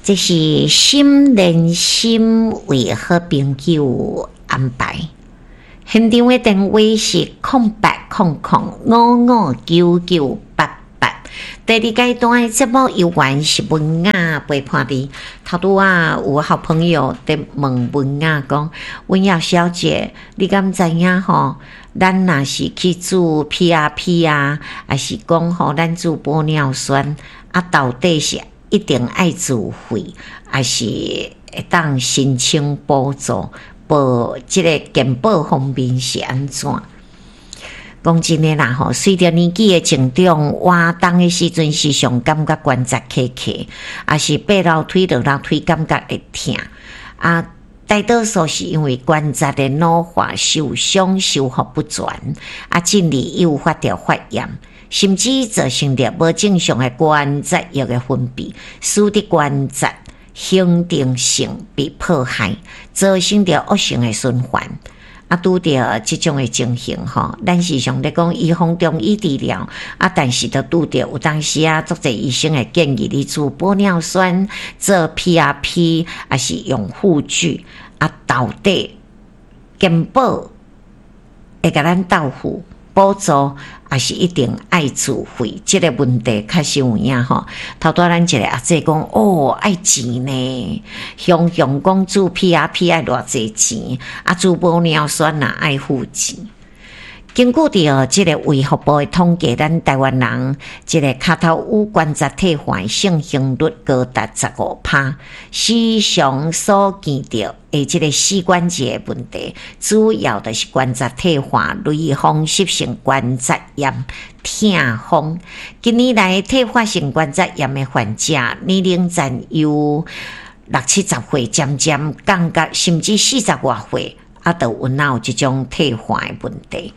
這是心連心為好朋友安排。現場的電話是0800559988。第二階段的節目猶原是文雅陪伴你。頭拄仔有好朋友佇問文雅講：文雅小姐，你敢知影吼？咱若是去注 PRP 啊，抑是講吼，咱注玻尿酸啊，到底是一定愛自費，抑是會當申請補助？報這个健保方面是按怎？講真的啦吼，隨著年紀的增長，活動的時陣時常感覺關節卡卡，抑是爬樓梯落樓梯感覺會疼。啊，大多數是因為關節的老化、受傷、修復不全，啊，進而誘發著發炎，甚至造成著無正常的關節液的分泌，使得關節恆定性被破壞，造成著惡性的循環。啊，拄著這種的情形吼，咱時常咧講預防中醫治療，啊，但是著拄著有當時啊，足濟醫生會建議你注玻尿酸、做 PRP，抑是用護具，啊，到底健保會共咱到付補助，抑是一定愛自費？這个問題確實有影吼。頭拄仔咱一个阿姐講，哦，愛錢呢，雄雄講注 PRP 愛偌濟錢，啊，注玻尿酸也愛付錢。根據著這个衛福部的統計，咱台灣人這个跤頭趺關節退化的盛行率高達15%，時常所見著的這个膝關節的問題，主要就是關節退化、類風濕性關節炎、痛風。近年來，退化性關節炎的患者年齡層由六七十歲漸漸降到甚至四十外歲，啊，都有哪有這種退化的問題。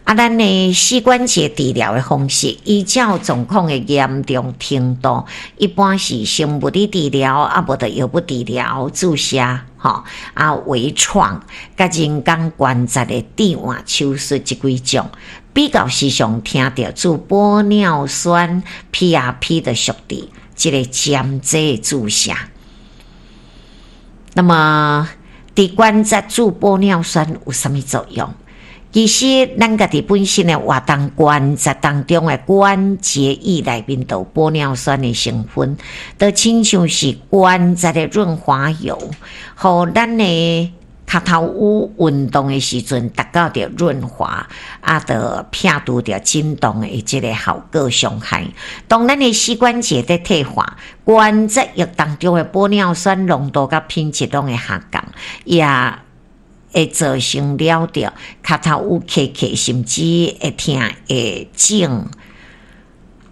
啊，咱的膝關節治療的方式，依照狀況的嚴重程度，一般是生物理治療，啊，無就藥物治療、注射，吼，啊，微創，佮人工關節的置換手術這幾種。比較時常聽著注玻尿酸 PRP 的屬佇這個針劑注射。那麼，佇關節注玻尿酸有啥物作用？其實，咱家己本身的活動關節當中的關節液內面就有玻尿酸的成分，就親像是關節的潤滑油，予咱的跤頭趺運動的時陣達到著潤滑，啊，就撇除著震動的這个效果傷害。當咱的膝關節佇退化，關節液當中的玻尿酸濃度佮品質攏會下降，也會造成了著跤頭趺卡卡，甚至會疼會腫。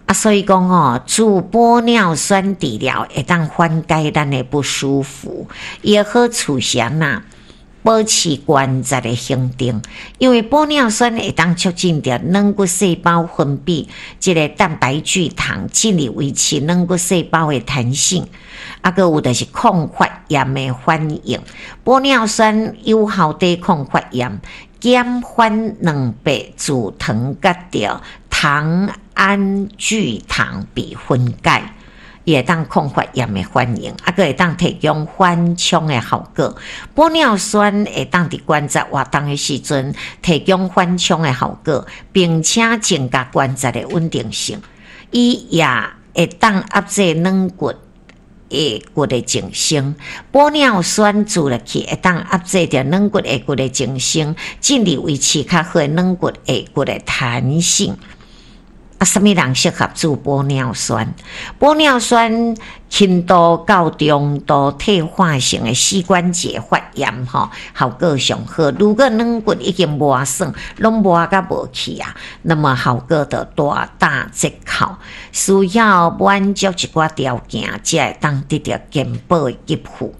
啊，所以講吼，注玻尿酸治療會當緩解咱的不舒服，伊的好處是按怎？保持關節的恆定，因為玻尿酸會當促進著軟骨細胞分泌這个蛋白聚糖，進而維持軟骨細胞的彈性。啊，閣有就是抗發炎的反應，玻尿酸有效抵抗發炎，減緩蛋白聚糖佮著糖胺聚糖被分解。伊會當抗發炎的反應，啊，閣會當提供緩衝的效果。玻尿酸會當佇關節活動的時陣提供緩衝的效果，並且增加關節的穩定性。伊也會當壓制軟骨下骨的增生。玻尿酸注入去會當壓制著軟骨下骨的增生，進而維持較好的軟骨下骨的彈性。啊，啥物人適合注玻尿酸？玻尿酸輕度到中度退化性的膝關節發炎吼，效果上好。如果軟骨已經磨損，攏磨甲無去啊，那麼效果就大打折扣。需要滿足一寡條件，才會當得著健保的給付。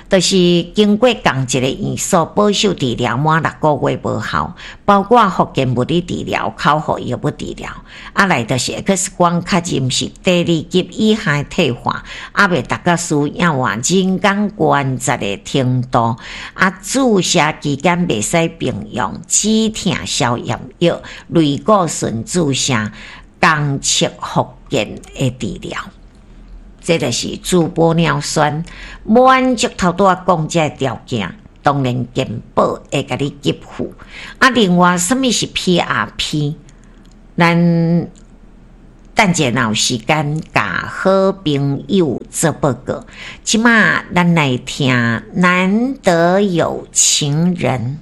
就是經過仝一個院所保守治療滿6個月無效，包括復健物理治療、口服藥物治療，啊來就是 X 光確認是第二級以下的退化，猶未達到需要換人工關節的程度，啊注射期間袂使併用止痛消炎藥、類固醇注射、仝測復健的治療。這就是注玻尿酸，滿足頭拄仔講這个條件，當然健保會共你給付。啊，另外，啥物是 PRP？咱等者若有時間，共好朋友做報告。這馬咱來聽《難得有情人》。